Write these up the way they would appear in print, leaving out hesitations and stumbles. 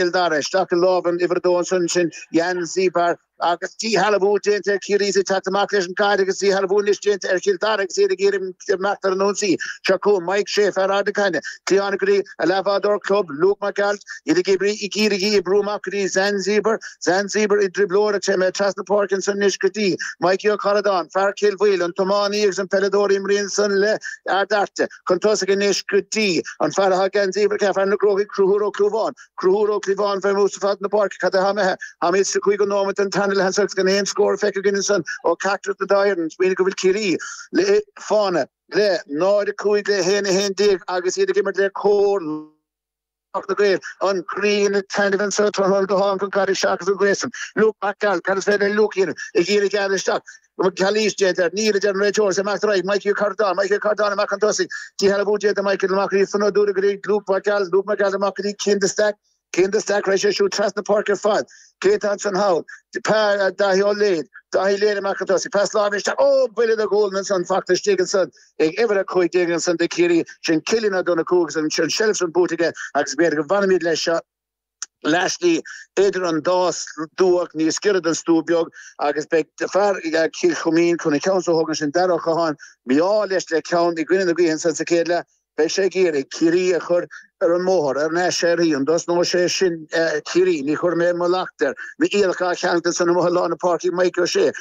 Cill Dara isteach i lámh an uimhir 2 ansan, sin Jan Zybar agus díshealbhú déanta ar Chiarraí is ag teacht amach leis an gcaid agus díshealbhú anois déanta ar Chill Dara agus iad ag iarraidh imeacht ar an ionsaí. Seo chugainn Mike Shea, fear Ard na Caithne, cliathán go dtí a leathbhádóir club, Luke McAlt, iad ag oibriú ag iarraidh í oibriú amach go dtí Zan Zybar, Zan Zybar i dtrioblóid ach téann trasna páirce ansan anois go dtí Mikey Ó Caradáin, fear Chill Bhaoill, an tiománaí agus an peileadóir a imríonn ansan le Ard Fhearta. Chun tosaigh anois go dtí an fear atá geansaí uimhir 4, fear na gCrócaigh, Conchúr Ó Clúmháin. Conchúr Ó Clúmháin fé mhús fad na páirce. Cad é atá imithe? Táimid sa chúigiú nóiméad den tarna leath anso agus gan aon scór feicthe againn ansan ó cheachtar den dá fhoireann. Smaoinigh go bhfuil Ciarraí le fána le 0-5 le 1-11 agus iad ag imirt le cór Lucht na Gaeil, an ghrian ag taitneamh anso tráthnóna go hálainn chun caide seachas an ghréasan. Luke Mac Gearailt, cad is féidir le Luke a dhéanamh? Ag iarraidh gearradh isteach. Calaois déanta air. Níl, a deir an réiteoir. Is é amach ar aghaidh. Mikey Ó Cairealláin. Mikey Ó Cairealláin amach chun tosaigh. Díshealbhú déanta Michael amach go dtí Fionn Ó Dúda go dtí Luke Mac Gearailt. Luke Mac Gearailt amach go dtí Cian de Staic. Cian de Staic, raghaidh sé siúd trasna páirce ar fad. Cé atá ansan thall? Daithí Ó Léid. Daithí Léid amach chun tosaigh. Pas láimhe isteach. Ó! Buille de ghualainn ansan fachta istigh ansan ag uimhir 15 ansan do Chiarraí. Sin Cillian Ó Donnchú agus an tseilbh san buaite aige agus b'fhéidir go bhfanfaimid leis seo leathshlí idir an dá stua, níos giorra don stua beag agus beidh fear Chill Chuimín chun an ceann so a thógaint sin Dara Ó Catháin mí-ádh leis le ceann i gcoinne na gaoithe ansan sa chéad leath. Beidh sé ag iarraidh Ciarraí a chur ar an mbóthar, ar ais uirthi. An dtosnóidh sé sin Ciarraí? Ní chuirfidh mé mo leacht air. Na iallach á cheangal ansan amuigh i lár na páirce ag Mike Ó Sé.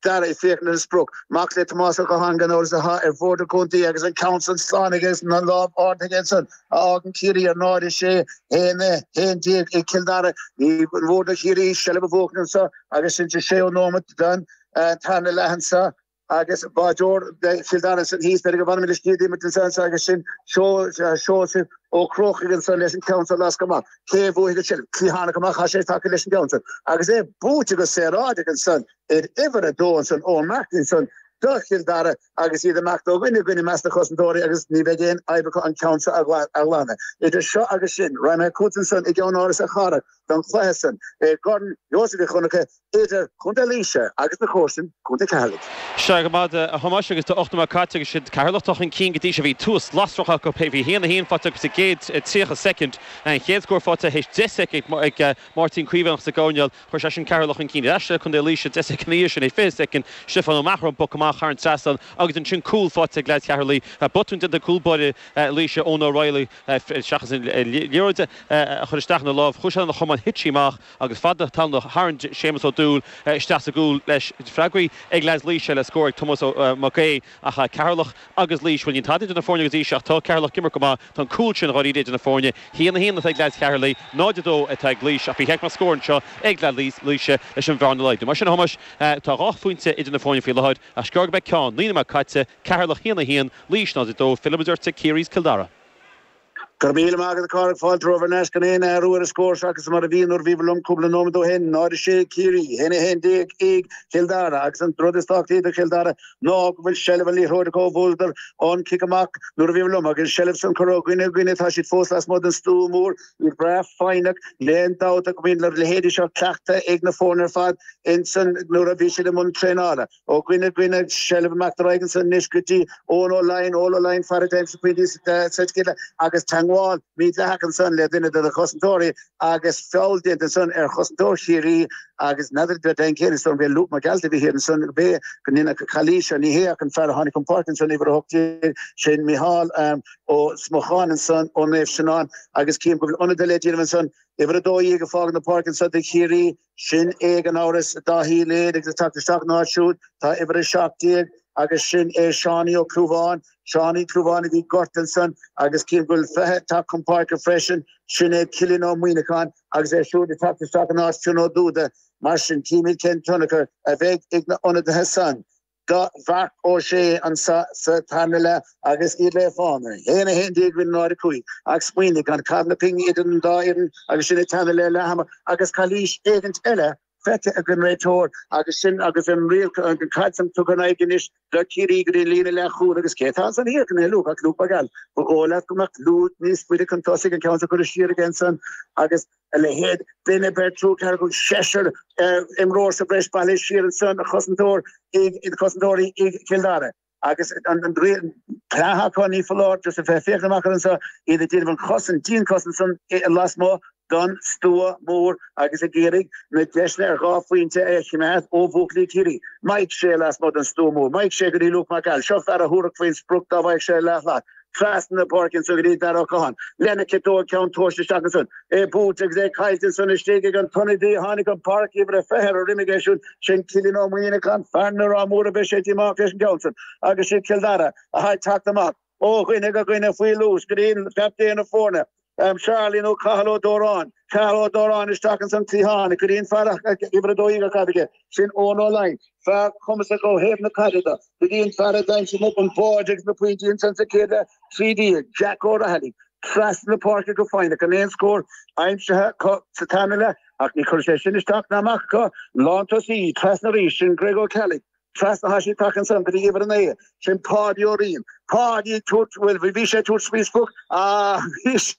Dara ag féachaint ar an sprioc. Mac le Tomás Ó Catháin gan amhras atá ar bhord an chontae agus an ceann san slán aige agus an lámh ardaithe aige ansan a fhágann Ciarraí ar 0-6, 1, 11 ag Cill Dara. Ní mór do Chiarraí seilbh a bhuachan anso agus sin sa séú nóimeat den tarna leath anso. Agus báideoir Chill Dara ansan thíos, b'fhéidir go bhfanfaimid istigh d'imirt ansan anso agus sin Seosamh Ó Crócaigh ansan leis an ceann san a lascadh amach. Cé a bhuafaidh an tseilbh? Cliathánach amach, tá sé tagtha leis an gceann san. Agus é buaite go saoráideach ansan ar uimhir a dó ansan, Eoin Martin ansan do Chill Dara agus iad ag imeacht ó dhuine go duine i measc na chosantóirí agus ní bheidh aon fhadhb acu an ceann seo a ghlanadh. Idir seo agus sin, raghaidh mé chugat ansan i gCeann Áras a Chárthaigh don chluiche san i gCorn Sheosaimh Mhic Dhonncha idir Contae Laoise agus na comharsana, Contae Cheatharlaigh. Sea, go maith, a Thomáis, agus tá 8 nóiméad caite agus siad Ceatharlach atá chun cinn go dtí seo. Bhí tús lasrach acu, bhí 1-1 faighte acu sa gcéad 30 soicind. An chéad scór faighte théis 10 soicind ag Máirtín Caomhánach sa gcoirnéal. Chuir sé sin Ceatharlach chun cinn ar ais le Contae Laoise 10 soicind ina dhiaidh sin, théis 20 soicind, Stiofán Ó Meachair an poc amach thar an trasnán agus ansin cúl faighte ag leaids Cheatharlaigh. Botún déanta ag cúl báire Laoise, Eoin O'Reilly, seachas an liathróid a chur isteach ina lámh, chuaigh sé lena chamán, thit sí amach. Agus fad tallánach tharraing Séamus Ó Dúill isteach sa gcúl leis. Freagraithe ag leaids Laoise le scór ag Tomás Mac Aodha ach Ceatharlach agus Laois, bhuel níl tada idir na foirne go dtí seo ach tá Ceatharlach ag imirt go maith. Tá an cúl sin dháiríre idir na foirne. 1-1 atá ag leaids Cheatharlaigh, 0-2 atá ag Laois ach ba cheart go mbeadh scór anseo ag leaids Laoise leis an bhearna a laghdú. Mar sin a Thomáis, tá dhá phointe idir na foirne faoi láthair ach is gearr go mbeidh ceann. 9 nóiméad caite, Ceatharlach 1-1, Laois 0-2, fillfimid ort ag Ciarraí is Cill Dara. Go raibh míle maith agat a Chárthaigh, fáilte romhaibh thar n-ais gan aon athrú ar an scór seachas mar a bhí nuair a bhíobhair liom cúpla nóiméad ó shin, 0-6 Ciarraí, 1-11 ag Cill Dara agus an rud is tábhachtaí do Chill Dara ná go bhfuil seilbh an liathróid acu, bhuadar an cic amach nuair a bhíobhair liom agus an seilbh san curtha ó dhuine go duine, tá siad fós lasmuigh den stua mór, iad breá foighneach, níl aon dabht ach go mbíonn a leithéidí seo cleachta ag na foirne ar fad insan nuair a bhí siad i mbun traenála. Ó dhuine go duine, seilbh amach ar aghaidh ansan anois go dtí Eoin Ó Laighin, Eoin Ó Laighin, fear a d'aimsigh pointí sa chéad leath agus teagmháil mídhleathach ansan le duine de na cosantóirí agus feall déanta ansan ar chosantóir Chiarraí agus n'fheadar de den chéad is dóigh liom Luke McAuliffe a bhí thiar ansan gurb é go ndéanfadh calaois ní hé ach an fear a tháinig chun páirce ansan uimhir 18 sin Micheál Ó Smucháin ansan ó Naomh Seanán agus cím go bhfuil ionadaithe le déanamh ansan uimhir 12 ag fágáil na páirce ansan do Chiarraí. Sin é gan amhras Dáithí Léid agus ag teacht isteach ina áit siúd tá uimhir 17 agus sin é Seánie Ó Clúmháin. Seánie Ó Clúmháin a bhí gortaithe ansan agus cím go bhfuil 20 ag teacht chun páirce freisin. Sin é Cillian Ó Muíneacháin agus é siúd ag teacht isteach in áit Fionn Ó Dúda. Mar sin címid cén tionchar a bheidh ag na ionadaithe san. Do Mharc Ó Sé anso sa tarna leath agus iad le fána. 1, 11 roimh 0, 5. Ach smaoinigh, gan caitheamh na pingine idir an dá fhoireann agus sinn ag teannadh le leath ama agus calaois éigint eile feicthe ag an réiteoir agus sin agus an riail an caid san tugtha in aghaidh anois do Chiarraí go dtí an líne leathchúil agus cé atá ansan thiar ní Luke ach Luke McGall. Ba dhóigh leat go mbeadh Luke níos faide chun tosaigh an ceann san curtha siar aige ansan agus a leithéid. Duine, beirt, triúr, ceathrar, cúigear, seisear imreoir sa bhreis bailithe siar ansan, chosantóir ag cosantóirí ag Cill Dara. Agus an plean acu ní foláir just a bheith féachaint amach anseo, iad ag déanamh an chosaint, dianchosaint san lasmuigh. Don Stua Mór agus ag iarraidh na deiseanna ar dhá phointe a choimeád ó bhuachaillí Chiarraí. Mike Shea lasmuigh den Stua Mór. Mike Shea go dtí Luke McCall. Seo fear a thabharfadh faoin sprioc dá bhfaigheadh sé leathshlat. Trasna na páirce ansan go dtí Dara Ó Catháin. Lena chiotóg ceann tomhaiste isteach ansan. É buailte agus é caillte ansan istigh ag an t-ionadaí a tháinig chun páirce uimhir a 20 ar a dhroim aige siúd. Sin Cillian Ó Muimhneacháin, fear na Ráth Mór beidh sé díomách leis an gceann san. Agus siad Cill Dara atá ag teacht amach. Ó dhuine go dhuine faoi luas go dtí captaen na foirne, Charlie nó Cathal Ó Dóráin. Cathal Ó Dóráin isteach ins an cliathán go dtí an fear uimhir 12 ar caid aige, sin Eoin Ó Laighin, fear cumasach ó thaobh na caide de, go dtí an fear a d'aimsigh an báide agus na pointí ansan sa chéad leath, 13, Jack Ó Raghallaigh, trasna na páirce go foighneach, an aon scór aimsithe acu sa tarna leath ach ní chuirfidh sé sin isteach ná amach acu, lántosaí trasna arís, sin Greg Ó Ceallaigh. Trasna tá sí tagtha ansan go dtí uimhir 9, sin Páidí Ó Riain. Páidí ag tabhairt, bhuel, bhí sé ag tabhairt faoin sprioc ach bhí sé,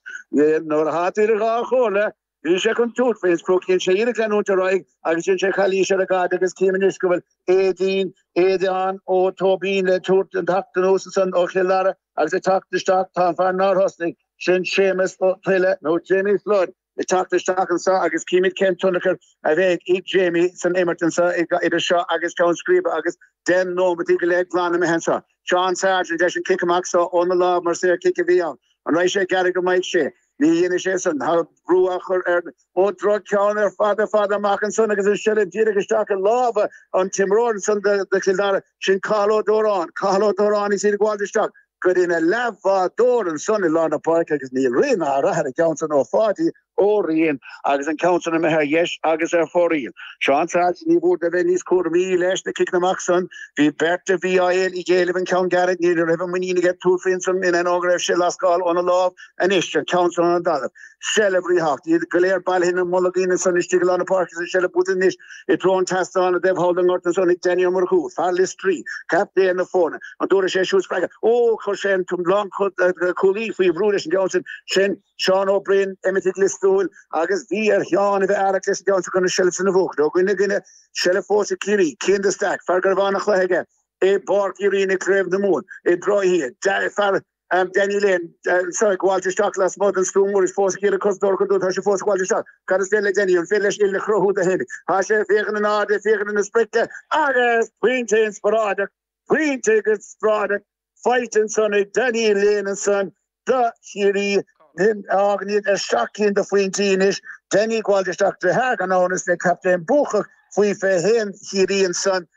nuair atá tú idir dhá chomhairle, bhí sé chun tabhairt faoin sprioc, dhein sé iarracht leanúint ar aghaidh agus dhein sé calaois ar an gcaid agus cím anois go bhfuil Aideen, Aodán Ó Tóibín le tabhairt an teacht anuas ansan ó Chill Dara agus ag teacht isteach tá an fear nár thosnaigh, sin Séamus Ó Tuile nó Jamie Flood. ag teacht isteach anseo agus címid cén tionchar a bheidh ag Jamie san imirt anseo idir seo agus Ceann Scríbe agus 10 nóimeataí go leith glan imithe anseo. Seán Sargent leis an cic amach seo óna lámh mar saor cic a bhí ann. An raghaidh sé ag gearradh go Mike Shea? Ní dhéanfaidh sé san. Tá brú á chur ar Ó droch-cheann ar fad ar fad amach ansan agus an seilbh díreach isteach i lámha an t-imreoir ansan do Chill Dara, sin Cathal Ó Dóráin. Cathal Ó Dóráin is iad ag gabháil isteach. Go dtína leathbhádóir ansan i lár na páirce agus níl rí ná rath ar an gceann san ó Pháidí Ó Riain agus an ceann san imithe ar dheis agus ar fóraoil. Seán Sargent, ní mór dó bheith níos cúramaí leis na ciceanna amach san. Bhí beirt a bhí á ag éileamh an ceann gearradh, ní raibh an muinín aige tabhairt faoi ansan in ainneoin go raibh sé lascáil óna lámh anois, an ceann san ón dtalamh. Seilbh ríthábhachtach, iad go léir bailithe ina mbolgín ansan istigh i lár na páirce agus an seilbh buaite anois i dtreo an tseastáin i dtaobh thall den ngort ansan ag Danny Ó Murchú, fear Liostraí, captaen na foirne. An dtabharfaidh sé siúd spreagadh? Ó, chuir sé an lánchúlaí faoi bhrú leis an gceann sin. Sin Seán Ó Broin, imithe ag Lios Tuathail agus bhí ar Sheán a bheith aireach leis an gceann sin chun an seilbh sin a bhuachan. Ó dhuine go duine, seilbh fós ag Ciarraí. Cian de Staic, fear go raibh an-chluiche aige i bPáirc Uí Rinn i gCraobh na Mumhan i dTrá Fear Danny Lane anseo ag gabháilt isteach lasmuigh den Stua Mór is fós ag iarraidh cosantóir a chur tá sé fós ag gabháilt isteach. Cad is féidir le Danny? An féidir leis uillinn a chruthú dó féin? Tá sé ag féachaint in airde, ag féachaint na sprice agus pointe inspioráideach, pointe inspioráideach faighte ansan ag Danny Lane ansan do Chiarraí. Fágann iad ar sheacht gcinn de phointí anois. Danny ag gabháilt isteach deartháir gan amhras le captaen buacach faoi 21 Chiarraí ansan.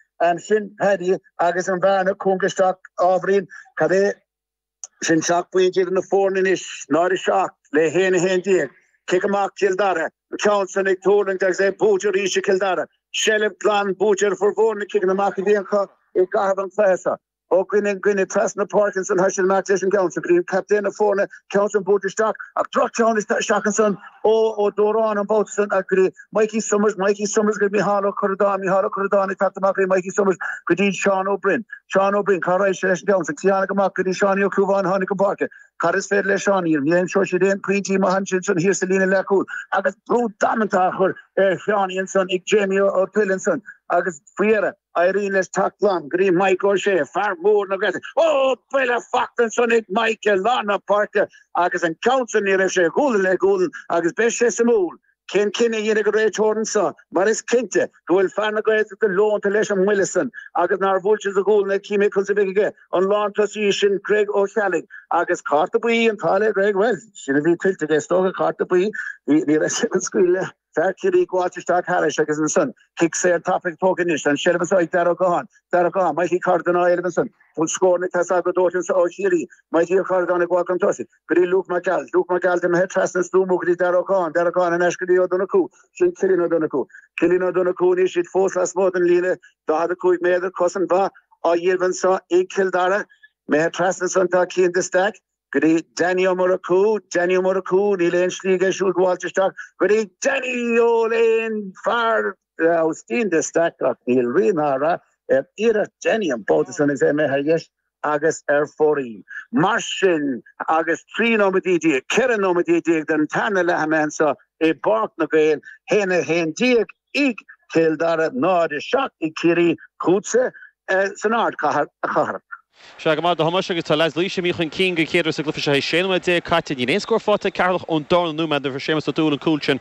Sin Paddy agus an bhearna cúngtha isteach ábhairín. Cad é sin 7 bpointe idir na foirne anois, 0-7 le 1-11. Cic amach Cill Dara, an ceann san ag tuirlingt agus é buaite arís ag Cill Dara. Seilbh glan buaite ar formhór na ciceanna amach a bhí acu i gcaitheamh an chluiche seo. Ó dhuine go duine trasna na páirce ansan tá siad amach leis an gceann san go dtí captaen na foirne, ceann san buailte isteach ach droch-cheann isteach ansan ó Ó Dóráin an babhta san ach go dtí Mikey Summers, Mikey Summers go dtí Micheál Ó Curradáin, Micheál Ó Curradáin ag teacht amach go dtí Mikey Summers go dtí Seán Ó Broin, Seán Ó Broin, cá raghaidh sé leis an gceann san? Cliathánaigh amach go dtí Seánie Ó Clúmháin a tháinig chun páirce. Cad is féidir le Seánie? Ní aimseoidh siad aon pointí maithe ansin san thiar sa líne leathchúil agus brú damanta á chur ar Sheánie ansan ag Jamie Ó Tuile ansan agus faoi dheireadh Éiríonn leis teacht glan go dtí Mike O'Shea, fear mór na Gaeltachta. Ó, buille fachta ansan ag Mike i lár na páirce agus an ceann san ní raibh sé gualainn le gualainn agus beidh sé suimiúil cén cinneadh a dhéanfaidh an réiteoir anso mar is cinnte go bhfuil fear na Gaeltachta leonta leis an mbuille san agus nár bhuail sé sa ghualainn é címid conas a bheidh aige an lántosaí sin Greg Ó Ceallaigh agus cárta buí an t-ádh le Greg bhuel sin a bhí tuillte aige is dócha cárta buí ní raibh sé chun scaoileadh Fear Chiarraí ag gabháilt isteach thairis agus ansan cic saor tapaidh tógtha anois. An seilbh anso ag Darragh Ó Catháin. Darragh Ó Catháin, Mikey Corrigan á éileamh ansan. Bhfuil scóranna ag teastáil go dóite anso ó Chiarraí. Mikey Ó Corradáin ag gabháil chun tosaigh. Go dtí Luke McAllen. Luke McAllen imithe trasna an Stua Mór go dtí Darragh Ó Catháin. Darragh Ó Catháin in ais go dtí Ó Donnchú. Sin Cillian Ó Donnchú. Cillian Ó Donnchú anois iad fós lasmuigh den líne 45 méadar. Cosaint mhaith á dhéanamh anso ag Cill Dara. Imithe trasna ansan tá Cian de Staic. Go dtí Danny Ó Murchú, Danny Ó Murchú, níl aon slí aige siúd gabháilt isteach go dtí Danny Ó Léin, fear Austin de Staic ach níl rí ná rath ar iarracht Danny an babhta san is é imithe ar dheis agus ar fóraoil. Mar sin agus 13 nóiméadaí, 14 nóiméadaí den tarna leath imithe anso i bPáirc na nGael, 1-11 ag Cill Dara, 0-7 ag Ciarraí, chugatsa san ardchathair, a Chathail. Sea, go maith a Thomáis, agus tá leaids Laoise imithe chun cinn den chéad uair sa gcluiche seo théis 16 nóiméad caite. Níl aon scór faighte ag Ceatharlach ón darna nóiméad nuair a fuair Séamus Ó Dúill an cúl sin.